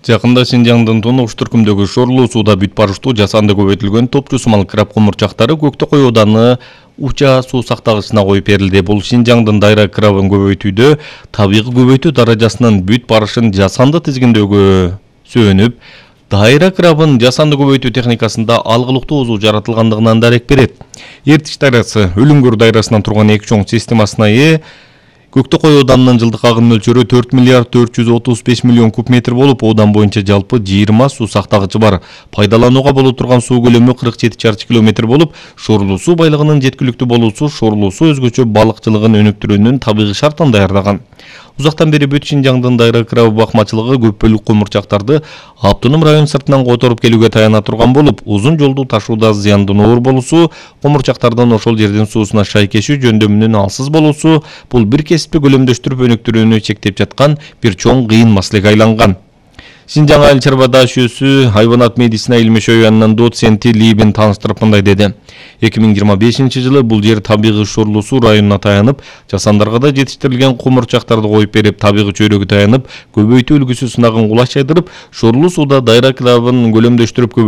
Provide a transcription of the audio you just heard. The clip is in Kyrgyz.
Жакында Шинжаңдын Тонуш түркүмдөгү Шорлуу сууда бүт барыштуу жасанды көбөйтүлгөн топчу сымал краб комурчактары Көктөкөй ауданы Уча суу сактагычына коюп берилди. Бул Шинжаңдын дайра крабын көбөйтүүдө табигый көбөйтүү даражасынын бүт барышын жасанды тизгиндөөгө сөөнүп, дайра крабын жасанды көбөйтүү техникасында алгылыктуу узуу жаратылгандыгынан дарек берет. Эртиш дайрасы Өлүңгөр дайрасынан турган эки чоң системасына ээ Көктөкөй ауданынын жылдык агым мөлчөрү 4 миллиард 435 миллион куб метр болуп, аудан боюнча жалпы 20 суу сактагычы бар. Пайдаланууга боло турган суу көлөмү 47 чарчы километр болуп, Шорлуу суу байлыгынын жеткиликтүү болуусу Шорлуу суу өзгөчө балыкчылыгын өнүктүрүүнүн табигый шартын даярдаган. Узактан бери бүт Шинжаңдын дайра крабы бакмачылыгы көп бөлүк комурчактарды автоном район сыртынан которуп келүүгө таяна турган болуп, узун жолду ташууда зыяндын оор болуусу, комурчактардын ошол жердин суусуна шайкешүү жөндөмүнүн алсыз болуусу бул бир кесипти көлөмдөштүрүп өнүктүрүүнү чектеп жаткан бир чоң кыйын маселеге айланган. Шинжаң айыл чарба даашүүсү хайванат медицина илми шөбүнүн доценти Либин тааныштырып мындай деди. 2025-жылы бул жер табигый Шорлуу суу районуна таянып, жасандарга да жетиштирилген комурчактарды коюп берип, табигый чөйрөгө таянып, көбөйтүү үлгүсү сынагын кулаш жайдырып, Шорлуу сууда дайра крабын көлөмдөштүрүп көбөйтүү